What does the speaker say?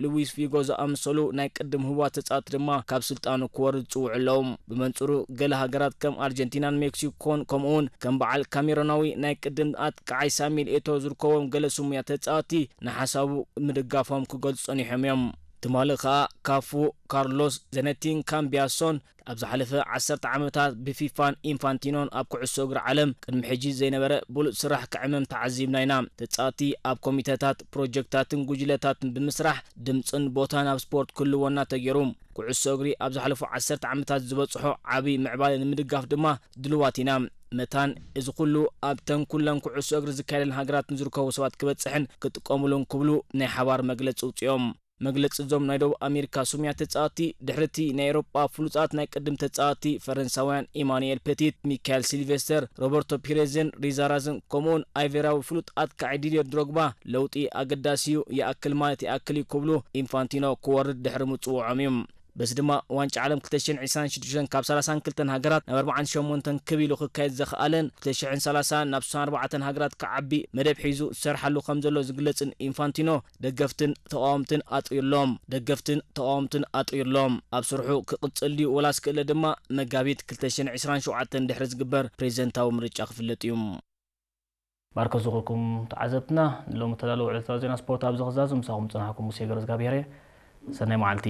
ሉዊስ ፊጎ ዝኣመሰሉ ናይ ቅድም ህቡባት ተጻወትቲ ድማ ካብ ስልጣኑ ክወርድ ጽውዑ ኣለዉ። ብመንጽሩ፣ ገለ ሃገራት ከም ኣርጀንቲናን ሜክሲኮን፣ ከምኡውን ከም በዓል ካሜሮናዊ ናይ ቅድም ኣጥቃዓይ ሳሚል ኤቶ ዝርከቦም ገለ ስሙያ ተጻወትቲ ንሓሳቡ ምድጋፎም ክገልጹ ጸኒሖም እዮም። ትማሊ ከኣ ካፉ፣ ካርሎስ ዘነቲን ካምቢያሶን ኣብ ዝሓለፈ ዓሰርተ ዓመታት ብፊፋን ኢንፋንቲኖን ኣብ ኩዕሶ እግሪ ዓለም ቅድሚ ሕጂ ዘይነበረ ብሉጽ ስራሕ ክዕመም ተዓዚብና ኢና። ተጻወትቲ ኣብ ኮሚተታት፣ ፕሮጀክታትን ጉጅለታትን ብምስራሕ ድምጽን ቦታን ኣብ ስፖርት ክህልወና ተገይሩ። ኩዕሶ እግሪ ኣብ ዝሓለፉ ዓሰርተ ዓመታት ዝበጽሖ ዓቢ ምዕባለ ንምድጋፍ ድማ ድልዋት ኢና። መታን እዚ ኩሉ ኣብተን ኩለን ኩዕሶ እግሪ ዝካየደለን ሃገራት ንዝርከቡ ሰባት ክበጽሕን ክጥቀሙሉን ክብሉ ናይ ሓባር መግለጺ ኣውጺኦም። መግለጺ እዞም ናይ ደቡብ ኣሜሪካ ስሙያት ተጻወትቲ ድሕሪ እቲ ናይ ኤውሮጳ ፍሉጣት ናይ ቅድም ተጻወትቲ ፈረንሳውያን ኢማኑኤል ፔቲት፣ ሚካኤል ሲልቬስተር፣ ሮበርቶ ፒሬዝን ሪዛራዝን ከምኡውን ኣይቬራዊ ፍሉጥ ኣጥቃዒ ዲድየር ድሮግባ ለውጢ ኣገዳሲ እዩ፣ ይኣክል ማለት ይኣክል እዩ ክብሉ ኢንፋንቲኖ ክወርድ ድሕሪ ምጽውዖም እዩ። በዚ ድማ ዋንጫ ዓለም ክልተ ሽሕን ዕስራን ሽዱሽተን ካብ ሰላሳን ክልተን ሃገራት ናብ ኣርባዓን ሸሞንተን ክብ ኢሉ ክካየድ ዘኽኣለን ክልተ ሽሕን ሰላሳን ናብ ስሳን ኣርባዕተን ሃገራት ክዓቢ መደብ ሒዙ ዝሰርሓሉ ከም ዘሎ ዝግለጽን ኢንፋንቲኖ ደገፍትን ተቓወምትን ኣጥርዩሎም። ደገፍትን ተቓወምትን ኣጥርዩሎም። ኣብ ስርሑ ክቕጽል ድዩ ወላስ ክእለ ድማ መጋቢት ክልተ ሽሕን ዕስራን ሸውዓተን ድሕሪ ዝግበር ፕሬዚደንታዊ ምርጫ ክፍለጥ እዩ። ማርከስ ዝኹልኩም ተዓዘብትና፣ ንሎሚ እተዳለወ ዕለታዊ ዜና ስፖርት ኣብዚ ክዛዙ ምሳኹም ዝጸናሕኩም ሙሴ ገረዝጋብሔር እየ። ሰናይ መዓልቲ።